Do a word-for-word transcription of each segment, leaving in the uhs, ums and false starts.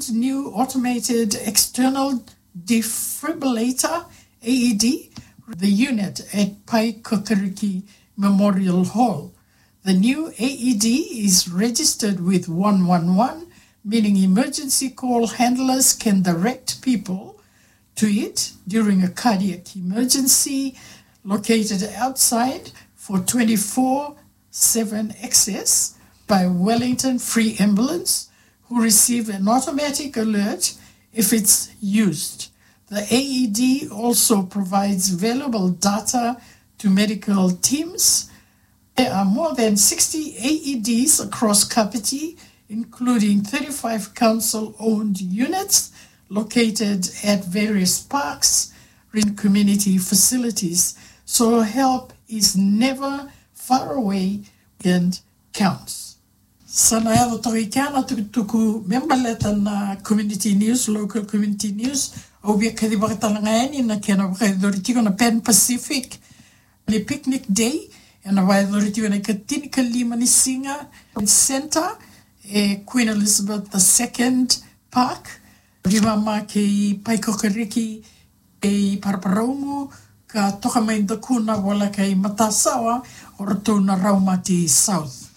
new automated external defibrillator, A E D, the unit at Paekakariki Memorial Hall. The new A E D is registered with one one one, meaning emergency call handlers can direct people to it during a cardiac emergency, located outside for twenty-four seven access by Wellington Free Ambulance, who receive an automatic alert if it's used. The A E D also provides valuable data to medical teams. There are more than sixty A E Ds across Kapiti, including thirty-five council-owned units located at various parks in community facilities. So help is never far away and counts. Sa na yaco toka i kea na tukutuku me baleta na community news, local community news. Au via kacivaka tale ga yani na kena vakayacori tiko na Pan Pacific ni picnic day, ena vakayacori tiko ena ikatinikalima ni siga, Centre, e Queen Elizabeth the Second Park, veimama kei Paekakariki, kei Paraparaumu, ka toka mai Dakuna voleka i Matasawa, o ratou na Raumati South.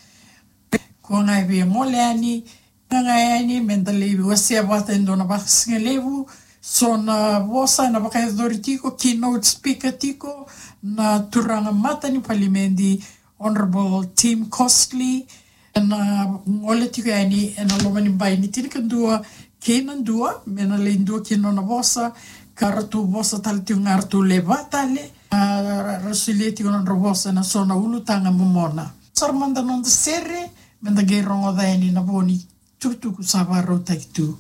Ko ga e via gole yani, ga yani, meda lai wasea vata e dua na vakasigalevu, so na vosa ena vakayacori tiko, keynote speaker tiko, na turaga mata ni palimedi, Honourable Tim Costley, ena gole tiko yani ena loma ni bai ni tinikadua kei na dua, me na lai dua kina nona vosa, ka ratou vosa tale tiko ga ratou lewe va tale, a, ra, ra solia tiko na nodra vosa ena so na ulutaga momona. Sara mada noda sere, meda qai rogoca yani na vo ni tukutuku sa vakarautaki tu.